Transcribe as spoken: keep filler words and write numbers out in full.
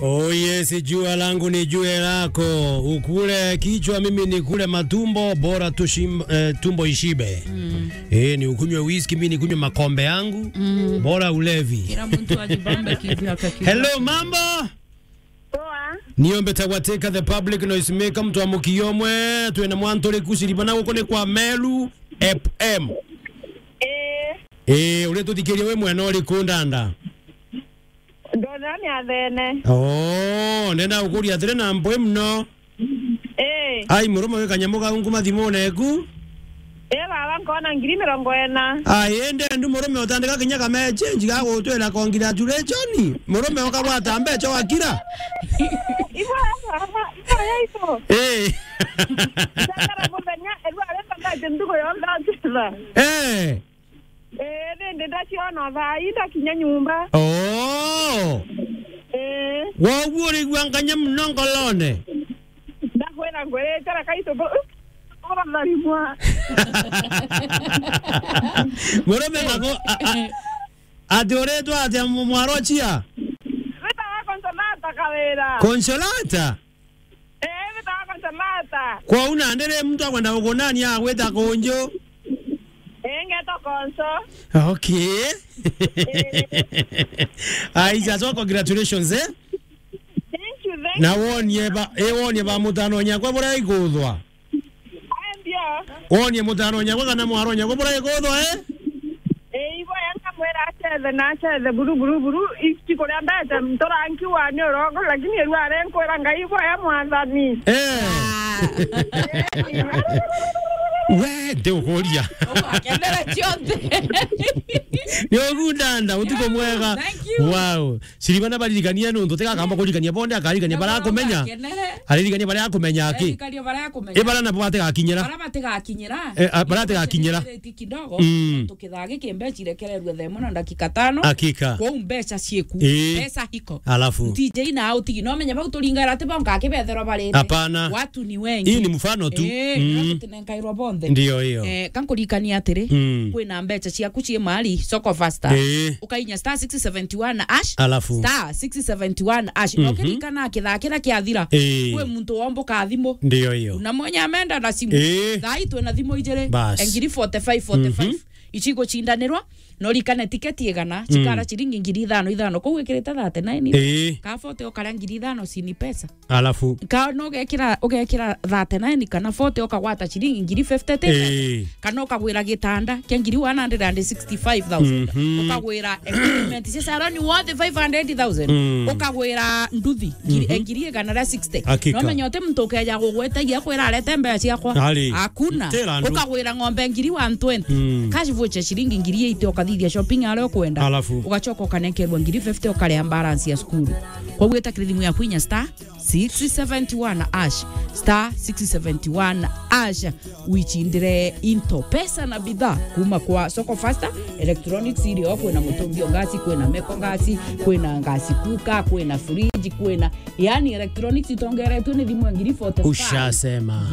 Oh yes, jua langu ni jua lako. Ukule kichwa, mimi nikule matumbo, bora tushim-, eh, tumbo ishibe. Mm. Eh, ni ukunywe whisky, mimi nikunywe makombe yangu. Mm. Bora ulevi. Kila mtu ajibambe kivyake, kivyake. Hello, mambo? Poa. Niombe tagwateka the public noise maker, mtu wa mukio mwe, twina mwantu ri kuciribana guku ni kwa Meru F M. Eh. Eh, uri tuthikirie wi mwena uriku ndanda? Ndona ni athene. Oh, ndenda gukuria atiri na mpwi muno. Eh. Ai, murume wi kanyamu kau nkuma thimune eku. Eh, baba, nkona ngiri mirongo ina. Ai, ende ndu murume utandika kinya kame change ga gutwira congratulation. Murume ukagwata mbeca wakira. Ibo, baba, ibo yaito. Eh. Ndakara muthenya, erwa arenda mbeca ndugu yonthe akira. Eh. Eh, rindi ndaciona thaa ii ndakinya nyumba. Oh. Eh. Woguo urigua nganya muno ngorone. Ndakwira ngwirite reka itu bu-, uratharimwa. Murume nago, a, a, ati uritwa atia mu-, mwarwa chia? Witawa Consolata Kawira. Consolata? Eh, bitaga Consolata. Kwou nandi ri muntu akwenda gukunania agwita kunju? Eh, ngetwa Konso. Okay. Eh. Aija, so congratulations, eh? Thank you, thank you. Na wonie ba, eh, wonie ba mutano nyakwa buria ikuthwa. Aya ndio. Wonie mutano nyakwa kana mwaro nyakwa buria ikuthwa, eh? Eh, ibo yanga mwira acethe na acethe buru, buru, buru, ikuria mbeca nturanki wa ni urongo, lakini erwa arenkwira Ngai ibo ya mwathani. Eh. Ah. We, ndi ukuria. Ugakenera cionthe. Ni ugundanda, utuko mwega. Thank you. Wow. Siribana baririkania nuntu tigakamba kuririkania bonde, akaririkania bara akumenya. Akenere. Aririkania bara akumenya aki. Aririkania bara akumenya. E bara nabo batigakinyira. Bara batigakinyira. Eh, a, bara batigakinyira. Kidogo. Mm. Tukithaa giki mbeca irekererwe thaa imwe na ndakika tano. Hakika. Kwou mbeca cieku. Eh. Mbeca hiko. Alafu. T J na au tigi. No menye bau turingaira ati bonka akibetherwa barite. Hapana. Watu ni wengi. Hii ni mfano tu. Eh, mm. Tutinenkairwa bonthe. Ndio hiyo. Eh, kankurikania atiri. Mm. Kwina mbeca ciaku cii mali, soko faster. Eh. Ukainya star six seventy one hash. Alafu. Star six seventy one hash. Mhm. Na ukiririkana kithaa kiria kiathira, eh, kwi muntu womboka thimu. Ndio hiyo. Na mwenye ameenda na simu. Eh. Thaa ii twina thimu ijiri. Bas. Ngiri forty-five, forty-five. Mhm. Ici igucindanirwa, na urikane tiketi igana, mm, cikara ciringi ngiri ithano ithano. Kou wikirite thirty-nine. Eh. Ka forty ukaria ngiri ithano ci ni pesa. Alafu. Ka no ugekira, ugekira thirty-nine kana forty ukagwata ciringi ngiri fifty ti pesa. Eh. Kana ukagwira gitanda kia ngiri one hundred and sixty-five thousand. Mhm. Ukagwira equipment cia salon worth five hundred thousand. Mm. Ukagwira nduthi, ngiri, mhm, eh, ngiri igana ria sixty. Hakika. No menye uti muntu ukeja gugwetagia akwira arete mbeca ciakwa. Ari. Hakuna. Tera andu. Ukagwira ng'ombe ngiri one twenty. Mm. Cash voucher ciringi ngiri eighty ukathithia shopping aria ukwenda. Alafu. Ugacoka ukanenkerwa ngiri fifty ukaria balance ya cukuru. Kwou wita kiri thimu yaku inya star six seventy one hash, star six seventy one hash, wicindire into pesa na bidhaa kuma kwa Soko Faster Electronics, irio kwina mutungi o ngasi, kwina meko ngasi, kwina ngasi kuka, kwina fridge, kwina, yani, electronics itongeretwe ni thimu ya ngiri forty-five. Ushasema.